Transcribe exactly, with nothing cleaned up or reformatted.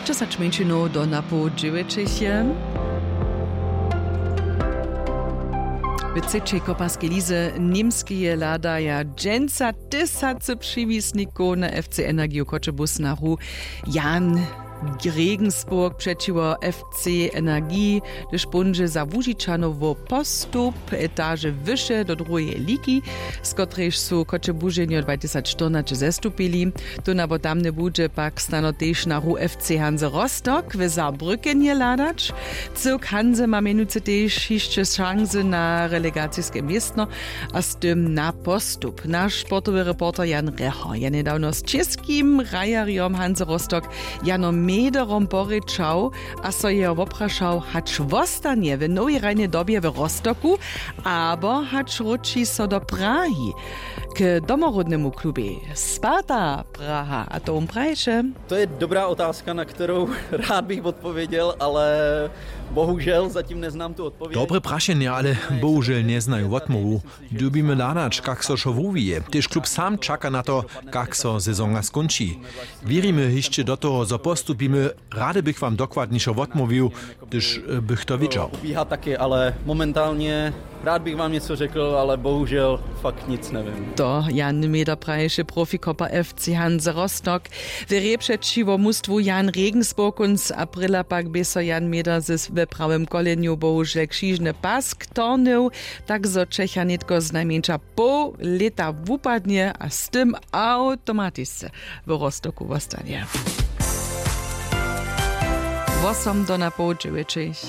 Dźesać mjeńšinow do napoł dźewjećich je. W třećej koparskej lize Němskeje hladaja dźensa tysacy přiwisnikow na F C Energiju Choćebuz na hru. Jan Regensburg přećiwo F C Energii, hdyž póńdźe za Łužičanow wo postup etaže wyše do druheje ligi, z kotrejž su Choćebuźenjo dwatysacštyrnaće zestupili. Tón abo tamny budźe pak snano tež na hru F C Hanse Rostock w Saarbrückenje hladać. Cyłk Hanse ma mjenujcy tež hišće šansy na relegaciske městno a z tym na postup. Naš sportowy reporter Jan Reho je njedawno z českim hrajerjom Hanse Rostock Janom Mederom porěčał a so jeho woprašał, hač wostanje w nowej hrajnej dobje w Rostocku, abo hač wróći so do Prahi k domoródnemu klubej Sparta Praha. A to wón praješe. To je dobrá otázka, na kterou rád bych odpověděl, ale bohužel zatím neznám tu odpověď. Dobre prašenje, ale bohužel njeznaju wotmołwu. Dyrbimy hladać, kak so wšo wuwije. Tež klub sam čaka na to, kak so sezonka skónči. Wěrimy hišće do toho, zo postupimy. Rady bych wam dokładnišo wotmołwił, hdyž bych to wědźał. Ubíhá taky, ale momentálně rád bych vám něco řekl, ale bohužel fakt nic nevím. To Jan Meder praješe, profikopa F C Hanse Rostock. W hrě přećiwo mustwu Jan Regensburg kónc aprila pak bě so Jan Meder z we prawym kolenju bohužel křižny pask tornył, tak zo Čecha nětko znajmjeńša poł lěta wupadnje a z tym awtomatisce w Rostocku wostanje. Wosom do napoł dźewjećich.